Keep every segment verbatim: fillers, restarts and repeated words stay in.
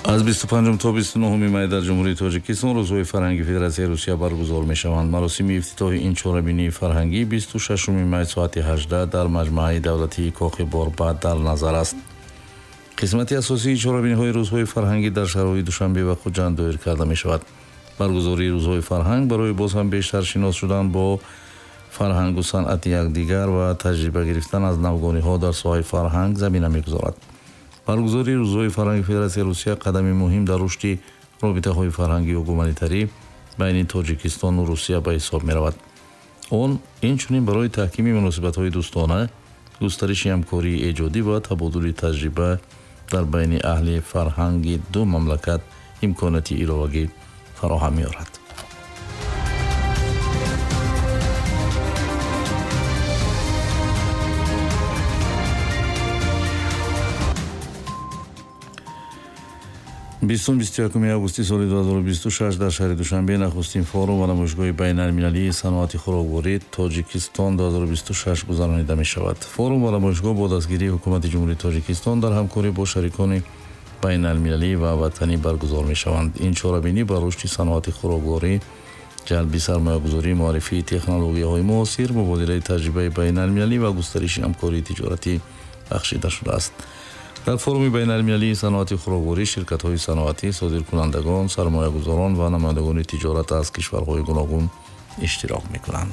Аз бисту панҷум то бисту нӯҳуми май дар Ҷумҳурии Тоҷикистон рӯзҳои фарҳанги Федератсияи Русия баргузор мешаванд. Маросими ифтитоҳи ин чорабинии фарҳангӣ бисту шашуми май соати ҳаждаҳ дар маҷмааи давлатии Кохи Борбад дар назар аст. Қисмати асосии чорабиниҳои рӯзҳои фарҳангӣ дар шаҳрҳои Душанбе ва Хуҷанд доир карда мешавад. Баргузории рӯзҳои фарҳанг барои боз ҳам бештар шинос шудан бо фарҳангу санъати якдигар ва таҷриба гирифтан аз навгониҳо дар соҳаи фарҳанг замина мегузорад. Баргузории рӯзҳои фарҳанги Федератсияи Русия қадами муҳим дар рушди робитаҳои фарҳангию гуманитарӣ байни Тоҷикистону Русия ба ҳисоб меравад. Он инчунин барои таҳкими муносибатҳои дӯстона, густариши ҳамкории эҷодӣ ва табодули таҷриба дар байни аҳли фарҳанги ду мамлакат имконияти иловагӣ фароҳам меорад. бистум бисту якуми августи соли ду ҳазору бисту шаш дар шаҳри Душанбе нахустин форум ва намоишгоҳи байналмилалии саноати хӯрокворӣ Тоҷикистон ду ҳазору бисту шаш гузаронида мешавад. Форум ва намоишгоҳ бо дастгирии ҳукумати Ҷумҳурии Тоҷикистон дар ҳамкорӣ бо шарикони байналмилалӣ ва ватанӣ баргузор мешаванд. Ин чорабинӣ ба рушди саноати хӯрокворӣ, ҷалби сармоягузорӣ, муаррифии технологияҳои муосир, мубодилаи таҷрибаи байналмилалӣ ва густариши ҳамкории тиҷоратӣ бахшида шудааст. Дар форуми байналмилалии саноати хӯрокворӣ ширкатҳои саноатӣ, содиркунандагон, сармоягузорон ва намояндагони тиҷорат аз кишварҳои гуногун иштирок мекунанд.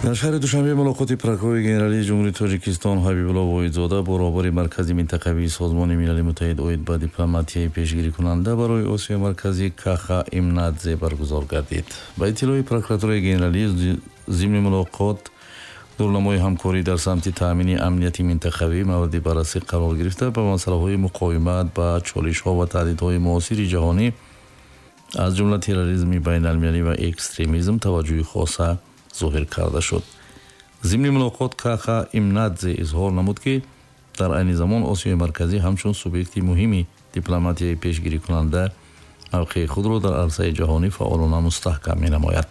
Дар шаҳри Душанбе мулоқоти прокурори генералии Ҷумҳурии Тоҷикистон Ҳабибулло Воҳидзода бо роҳбари Маркази минтақавии Созмони Милали Муттаҳид оид ба дипломатияи пешгирикунанда барои Осиёи Марказӣ Каха Имнадзе баргузор гардид. Ба иттилои прокуратураи генералӣ, зимни мулоқот дурнамои ҳамкорӣ дар самти таъмини амнияти минтақавӣ мавриди баррасӣ қарор гирифта, ба масъалаҳои муқовимат ба чолишҳо ва таҳдидҳои муосири ҷаҳонӣ, аз ҷумла терроризми байналмилалӣ ва экстремизм таваҷҷӯҳи хоса зоҳир карда шуд. Зимни мулоқот Каха Имнадзе изҳор намуд, ки дар айни замон Осиёи Марказӣ ҳамчун субъекти муҳими дипломатияи пешгирикунанда мавқеи худро дар арсаи ҷаҳонӣ фаъолона мустаҳкам менамояд.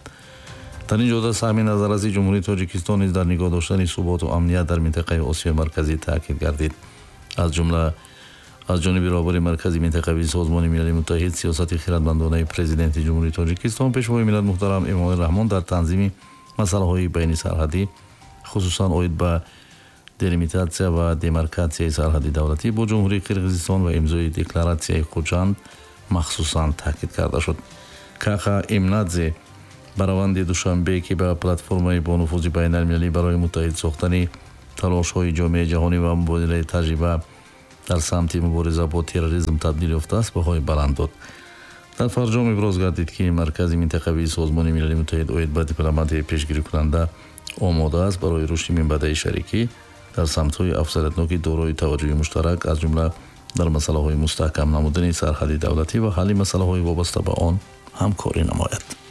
Дар ин ҷода саҳми назарраси Ҷумҳурии Тоҷикистон низ дар нигоҳ доштани суботу амният дар минтақаи Осиёи Марказӣ таъкид гардид. Аз ҷумла аз ҷониби роҳбари Маркази минтақавии Созмони Милали Муттаҳид сиёсати хирадмандонаи Президенти Ҷумҳурии Тоҷикистон Пешвои миллат муҳтарам Эмомалӣ Раҳмон дар танзими масъалаҳои байнисарҳадӣ, хусусан оид ба делимитатсия ва демаркатсияи сарҳади давлатӣ бо Ҷумҳурии Қирғизистон ва имзои декларатсияи Хуҷанд махсусан таъкид карда шуд. Каха Имнадзе ба раванди Душанбе, ки ба платформаи бонуфузи байналмилалӣ барои муттаҳид сохтани талошҳои ҷомеаи ҷаҳонӣ ва мубодилаи таҷриба дар самти мубориза бо терроризм табдил ёфтааст, баҳои баланд дод. Дар фарҷом иброз гардид, ки Маркази минтақавии Созмони Милали Муттаҳид оид ба дипломатияи пешгирикунанда омода аст барои рушди минбаъдаи шарикӣ дар самтҳои афзалиятноки дорои таваҷҷӯҳи муштарак, аз ҷумла дар масъалаҳои мустаҳкам намудани сарҳади давлатӣ ва ҳалли масъалаҳои вобаста ба он ҳамкорӣ намояд.